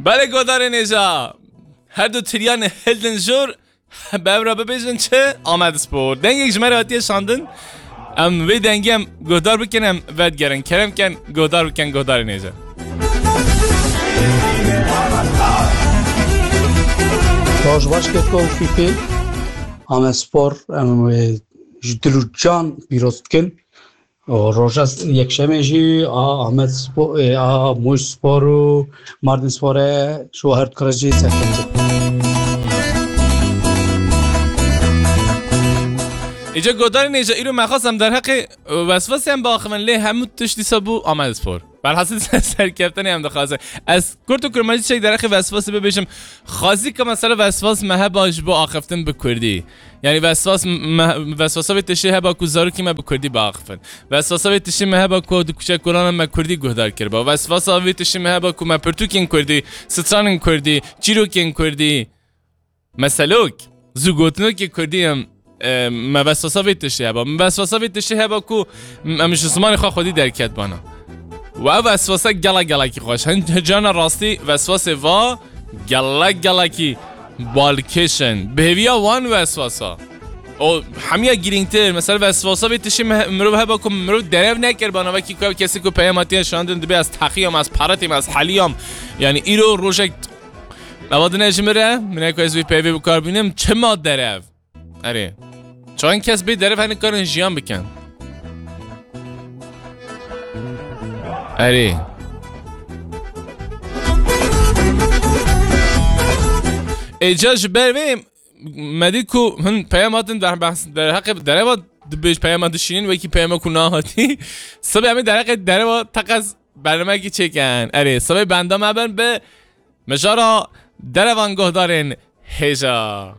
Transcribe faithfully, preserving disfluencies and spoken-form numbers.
Belê, guhdarên hêja, her du tiriyan hildin jor, bi ev re bibêjin çi? Amedspor. Dengek ji me re hatiye şandin. Em vê dengê em guhdar bikin, em vedigerin. Kerem ken, guhdar bikin, guhdarên hêja. Roj baş, Keko û Fîfî. Amedspor, em, e, ji dil û can pîroz dikin. Û roja yekşemê jî a Amed Spo-, e, a Mûş Spor û Mardin Spor e, ji her dikare jî serkeftin. Îca godarên hêja, îro me xwest em derheqê, e, weswasê em biaxivin, lê hemû tişt dîsa bû Amed Spor. Berhasil serkeftinê em dixwazin. Ez kurt û kurmancî çek derheqê weswasê bibêjim. Xwazî ke mesela weswas me heba ji bo axiftin bi kurdî. Yani weswas me, weswasa vê tiştê heba ku zarokî me bi kurdî biaxifin. Weswasa vê tiştê me heba ku di kuçekolana me kurdî guhdar kiriba. Weswasa vê tiştê me heba ku me pirtûkên kurdî, stranên kurdî, çîrokên kurdî, meselok, zûgotinokê kurdî em, e, me weswasa vê tiştê heba. Me weswasa vê tiştê heba ku em ji zimanê xwe xwedî derket bana. Û ev weswasa gela gelekî xweş. Hin carna rastî weswasê va gelek gelekî balkêş in. Bi hêviya wan weswasa. O hemiya girîngtir. Mesela weswasa vê tiştê me-, mirov heba ku mirov derev nekir bana, wekî ku ev kesê ku peyama tiye şandin dibe ez teqiyam, ez paretîm, ez heliyam. Yani îro rojek eva dine ji min re, min ku ez vê peyvê bi kar bînim, çima derev? Erê. Çend kes bê derev hene karin jiyan bikin? Erê. Êca ji ber vê me dî ku hin peyam hatin der-, behs-, derheqê dereva dibêj peyama dişînin, wekî peyama ku nahatî. Sibê em ê derheqê dereva teqez bernameyekî çêkin. Erê, sibê benda me bin bi mijara derevan guhdarên hêja.